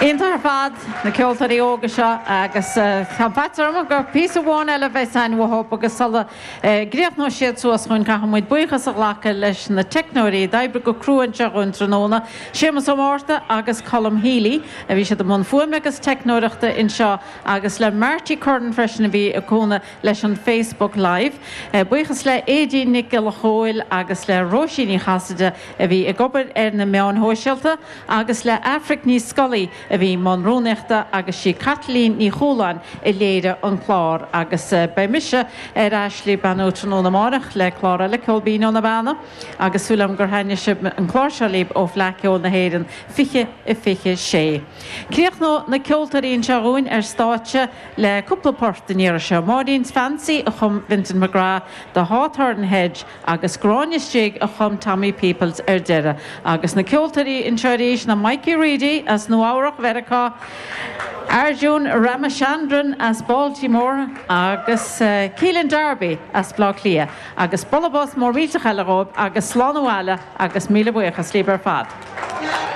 Iontach ar fad, na ceoltóirí óga seo agus tá faitíos orm gur píosa amháin eile a bheas againn uathu agus sula gcríochnóidh siad suas chugainn caithfidh muid buíochas a ghlacadh leis na teicneoirí a d'oibrigh go crua anseo dhúinn tráthnóna, Séamus Ó Márta agus Colm Healy a bhí siad i mbun fuaime agus teicneoireachta anseo agus le Marty Curran freisin a bhí ag cúnamh leis an Facebook Live. Buíochas le Aedín Nic Giolla Chóill agus le Róisín Ní Chasaide a bhí ag obair ar na meáin shóisialta agus le Aifric Ní Scolaí a bhí i mbun rúnaíochta agus sí Caitlín Ní Chualáin a léirigh an clár. Agus beidh mise ar ais libh beannú tráthnóna amárach le clár eile, Ceol Binn ó na Beanna, agus súil agam gur thaitnigh sibh an clár seo libh ó Fleadh Cheoil na hÉireann 2026. Críochnóidh na ceoltóirí anseo dhúinn ar stáitse le cúpla port an iarraidh seo, Maureen's Fancy a chum Vincent McGrath, The Hawthorn Hedge agus Gráinne's Jig a chum Tommy Peoples ar deireadh. Agus na ceoltóirí anseo arís ná Mikey Reidy as Nua Eabhrach Mheiriceá, Arjun Ramachandran as Baltimore agus Keelan Darby as Baile Átha Cliath. Agus bualadh bos mór millteach eile dhóibh agus slán abhaile agus míle buíochas libh ar fad.